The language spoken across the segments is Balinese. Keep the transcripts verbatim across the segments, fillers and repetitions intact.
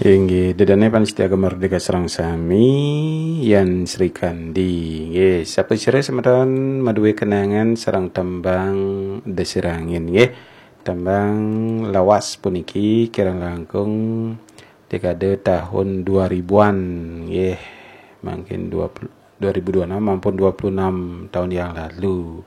Inggih, dedane pamiarsa Gema Merdeka sareng sami, Yan Srikandi. Nggih, sapasira semeton maduwe kenangan sareng tembang Desirangin nggih. Tembang lawas puniki kirang langkung dekade tahun dua ribuan nggih. Mangkin dua puluh, dua ribu dua puluh enam ampun dua puluh enam tahun yang lalu.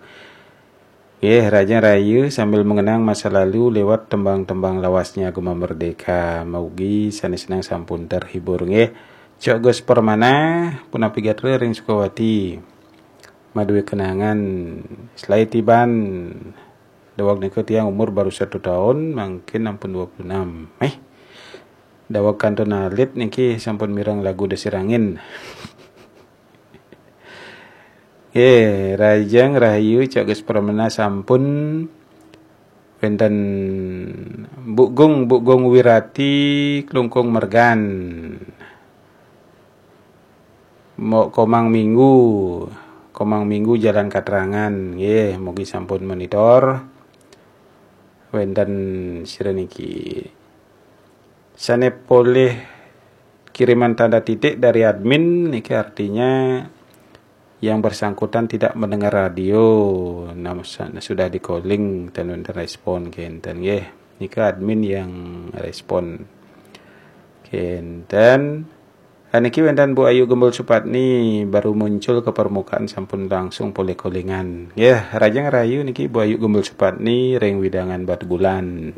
Nggih, Raja Rayu sambil mengenang masa lalu lewat tembang-tembang lawasnya Gema Merdeka. Mugi sanes seneng sampun terhibur nggih. Cok Gus Permana, punapi gatra ring Sukawati. Maduwe kenangan selae tiban daweg nika tiang umur baru satu tahun, mangkin ampun dua puluh enam. Eh, daweg kantun alit niki sampun mireng lagu Desirangin. Eh, Rajang Rahayu, Cok Gus Permana sampun wenten Bu Gung, Bu Gung Wirati, Klungkung Mergan. Mo Komang Minggu, Komang Minggu Jalan Katrangan. Nggih, mugi sampun monitor. Wenten sira niki sane polih kiriman tanda titik dari admin niki artinya yang bersangkutan tidak mendengar radio. Nah, sudah di-calling ten wenten respon kenten nggih. Nika admin yang respon kenten. Niki wenten Bu Ayu Gembul Supatni baru muncul ke permukaan sampun langsung polih callingan. Nggih, Rajang Rayu niki Bu Ayu Gembul Supatni ring wewidangan Batubulan.